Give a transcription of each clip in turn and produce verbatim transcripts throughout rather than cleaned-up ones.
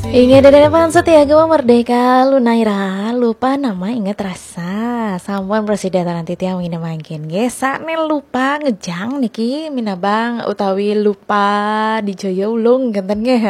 Inggih, Dede Depan setia Gema Merdeka, lunaira lupa nama ingat rasa. Sampun prasida taranti tiang mangkin nggih. Sane lupa ngejang niki minabang utawi lupa di Jaya Ulung kenten nggih.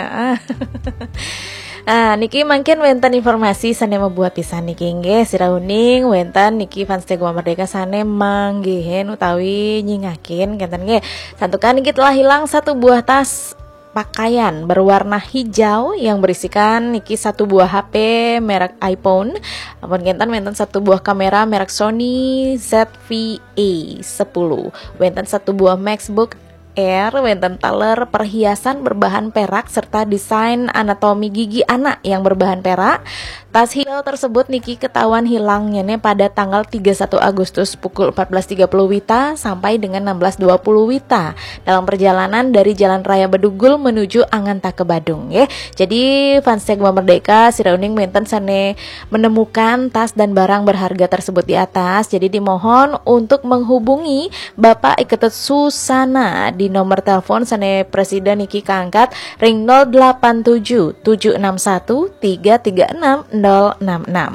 Ah, niki mangkin wenten informasi sane mabuat pisan niki nggih. Sira uning wenten niki fans Gema Merdeka sane manggihin utawi nyingakin kenten nggih. Santukan niki telah hilang satu buah tas pakaian berwarna hijau yang berisikan niki satu buah H P merek iPhone. Ampun kenten wenten satu buah kamera merek Sony Z V A sepuluh. Wenten satu buah MacBook Air, wenten taler perhiasan berbahan perak serta desain anatomi gigi anak yang berbahan perak. Tas hijau tersebut niki ketahuan hilangnya nih pada tanggal tiga puluh satu Agustus pukul empat belas tiga puluh wita sampai dengan enam belas dua puluh wita dalam perjalanan dari Jalan Raya Bedugul menuju Angantaka Badung ya. Jadi fans Gema Merdeka sira uning wenten sane menemukan tas dan barang berharga tersebut di atas. Jadi dimohon untuk menghubungi Bapak Iketut Susana di nomor telepon sane prasida niki kaangkat ring nol delapan tujuh tujuh enam satu tiga tiga enam nol enam enam.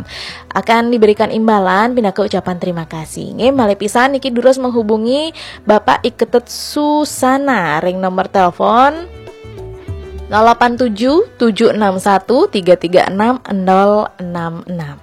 Akan diberikan imbalan pinaka ucapan terima kasih. Nggih, malih pisan niki durus menghubungi Bapak Iketut Susana ring nomor telepon nol delapan tujuh tujuh enam satu tiga tiga enam nol enam enam.